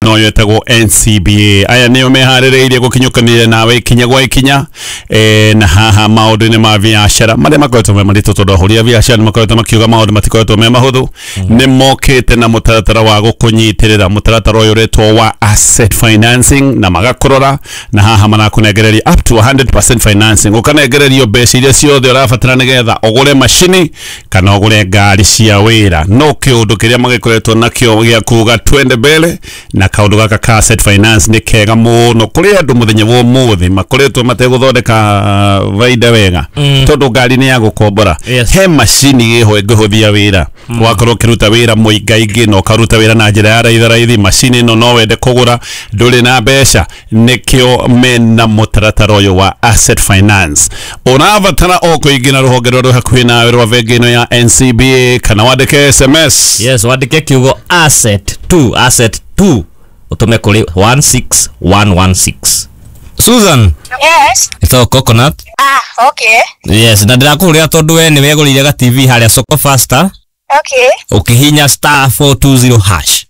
No yetagwo NCBA. Aya nĩo meharĩrĩirie gũkinyũkanĩria nawe ikinya gwa ikinya na haha maũndũ-inĩ ma biacara marĩa makoretwo me maritũ, tondũ ahũri a biacara nĩ makoretwo makiuga maũndũ matikoretwo me mahũthũ. Nĩ mokĩte na mũtaratara wa gũkũnyitĩrĩra, mũtaratara ũyũ ũretwo wa asset financing, na magakũrora na haha marakũnengereria up to 100% financing, ũkanengererio mbeca iria ciothe ũrabatara nĩgetha ũgũre macini kana ũgũre ngari cia wĩra. No kĩũndũ kĩrĩa magĩkoretwo nakĩo gĩa kuga twende mbere na kaũndũ gaka ka asset finance nĩ kega mũno kũrĩ andũ mũthenya wa ũmũthĩ makoretwo mategũthondeka baida wega, tondũ ngari nĩ ya gũkombora. He macini ĩho ĩngĩhũthia wĩra, wakorwo ũkĩruta wĩra mũingaingĩ na ũkaruta wĩra na njĩra ya raithi raithi. Macini ĩno no wende kũgũra, ndũrĩ na mbeca, nĩkĩo mena mũtaratara ũyũ wa asset finance. Ũrabatara o kũingĩra rũhonge rũrĩa rwĩ hakuhĩ nawe rwa bengi ĩno ya NCBA kana wandĩke SMS. Yes, wandĩke kiugo asset 2, asset 2, utume kuri 16116. Susan. Yes. Ito coconut. Ah, okay. Yes, na ndĩrakũhũrĩra tondũ we nĩ wegũrĩire ga TV harĩa Soko Faster. Okay. Ũkĩhinya star 420 hash.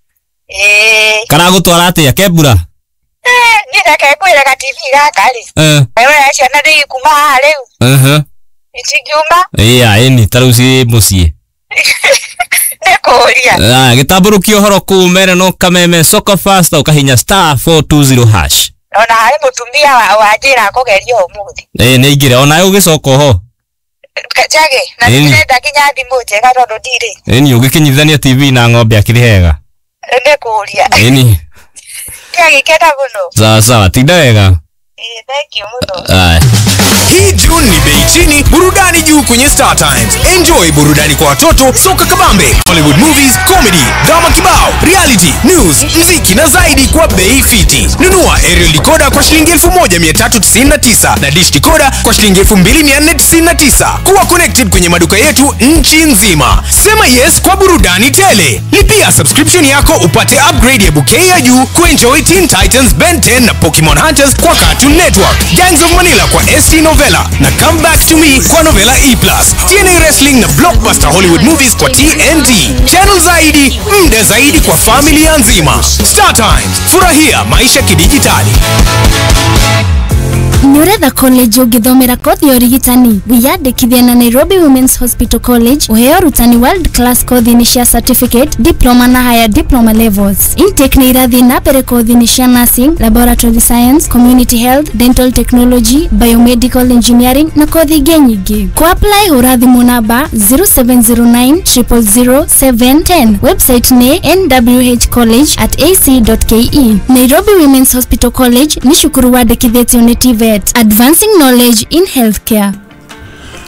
Eh. Karagũtwara atĩa kembura? Eh, niĩ reke ngwĩre ga TV gaka rĩ. Eh. Ciana nĩ ikuma haha rĩu. Itingiuma. Ĩya, ĩni ta rĩu ciĩ mũciĩ. Nĩkũria. Gĩtambũrũkia ũhoro kũu mere no kameme Soko Faster ũkahinya star 420 hash. Ona harĩ mũtumia wanjĩra kũgeria ũmũthĩ. Ĩĩ nĩ aingĩre onawe ũgĩcoka oho. Njage na ndĩrenda nginya thimũ njega tondũ ndirĩ. Ĩni ũgĩkinyithania TV na ng'ombe akĩrĩ hega. Nĩkũria. Ĩni. Ndagĩkena mũno. Sawa sawa, tinda wega. Thank you mũno. Hii June ni bei chini, burudani juu kwenye Star Times. Enjoy burudani kwa watoto, soka kabambe, Hollywood movies, comedy, drama kibao, reality, news, mziki na zaidi kwa bei fiti. Nunua aerial decoder kwa shilingi 1399 na dish decoder kwa shilingi 2499. Kuwa connected kwenye maduka yetu nchi nzima. Sema yes kwa burudani tele. Lipia subscription yako upate upgrade ya bouquet ya juu kuenjoy Teen Titans, Ben 10 na Pokemon Hunters kwa Cartoon Network, Gangs of Manila kwa ST Novella na Come Back to Me kwa Novella E+, TNA Wrestling na Blockbuster Hollywood Movies kwa TNT. Channel zaidi, muda zaidi kwa familia nzima. Star Times, furahia maisha kidijitali. Nĩũretha college ũngĩthomera kothi ya ũrigitani? Wĩyandĩkithie na Nairobi Women's Hospital College ũheo ũrutani world class kothi-inĩ cia certificate, diploma na higher diploma levels. Intake nĩ irathiĩ na mbere kothi-inĩ cia nursing, laboratory science, community health, dental technology, biomedical engineering na kothi ingĩ nyingĩ. Kũ apply hũra thimũ namba 0709 000 710. Website nĩ nwhcollege@ac.ke. Nairobi Women's Hospital College nĩ cukuru wandĩkithĩtio nĩ TVET. Advancing knowledge in healthcare.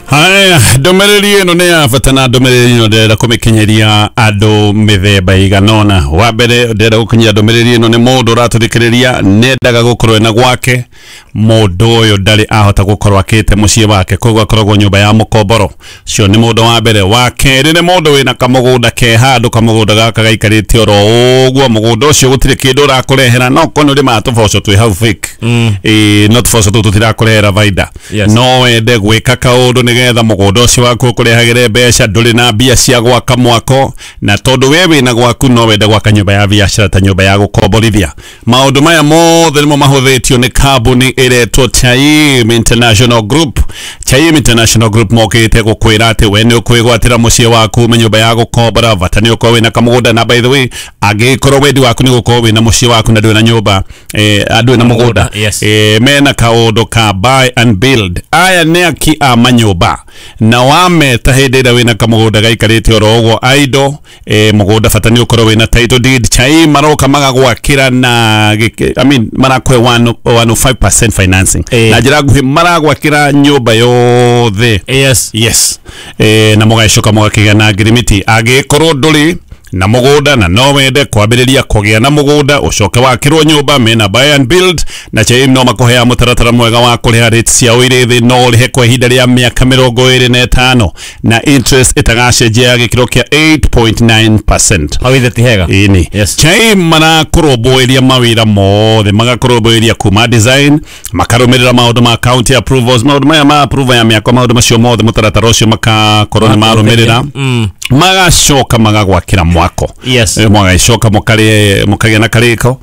Haya, ndũmĩrĩri ĩno nĩ ya bata na ndũmĩrĩri ĩno ndĩrenda kũmĩkinyĩria andũ mĩthemba ĩigana ũna. Wa mbere ndĩrenda gũkinyĩria ndũmĩrĩri ĩno nĩ mũndũ ũratũthikĩrĩria nendaga gũkorwo ena gwake, mũndũ ũyũ ndarĩ ahota gũkorwo akĩte mũciĩ wake, koguo akoragwo nyũmba ya mũkomboro. Ũcio nĩ mũndũ wa mbere. Wa kerĩ nĩ mũndũ wĩna kamũgũnda ke handũ, kamũgũnda gaka gaikarĩte oro ũguo, mũgũnda ũcio gũtirĩ kĩndũ ũrakũrehera, no korwo nĩ ũrĩmaga tũboco twĩ hau fake. No tũboco tũtũ tũtirakũrehera baida. No wende gwĩka kaũndũ nĩgetha mũgũnda ũcio waku ũkũrehagĩre mbeca, ndũrĩ na mbia cia gwaka mwako, na tondũ we wĩna gwaku no wende gwaka nyũmba ya biacara ta nyũmba ya gũkomborithia. Maũndũ maya mothe nĩmo mahũthĩtio nĩ kambuni ĩretwo Chaim International Group. Chaim International Group mokĩte gũkwĩra atĩ we nĩ ũkwĩgwatĩra mũciĩ waku ume nyũmba ya gũkombora, bata nĩ ũkorwo wĩna kamũgũnda. Na by the way, angĩkorwo wendi waku nĩ gũkorwo wĩna mũciĩ waku na ndũrĩ na nyũmba, ndũrĩ na mũgũnda, mena kaũndũ ka buy and build. Aya nĩ aki a manyũmba na wameta hĩndĩ ĩrĩa wĩna kamũgũnda gaikarĩte oro ũguo idle, mũgũnda bata nĩ ũkorwo wĩna title deed. Chaim maroka magagwakĩra na I mean marakũhe 105% financing na njĩra nguhĩ maragwakĩra nyũmba yothe. Yes. Yes. Na mũgacoka mũgakĩgĩa na ngirimiti. Angĩkorwo ndũrĩ na mũgũnda na no wende kwambĩrĩria kũgĩa na mũgũnda ũcoke wakĩrwo nyũmba, mena buy and build na Chaim no makũhea mũtaratara mwega wa kũrĩha rates ciao irĩ thĩ, no ũrĩhe kwa ihinda rĩa mĩaka 25 na interest ĩtagacenjia ya gĩkĩro kĩa 8.9%. Hau ithe ti hega. Ĩni. Yes. Chaim marakũrũmbũĩria mawĩra mothe, magakũrũmbũĩria kuma design, makarũmĩrĩra maũndũ ma county approvals, maũndũ maya ma approval ya mĩako, maũndũ macio mothe mũtaratara ũcio makakorwo nĩ marũmĩrĩra. Magacoka magagwakĩra mwako. Yes. Mũgagĩcoka mũkarĩe, mũkagĩa na karĩko.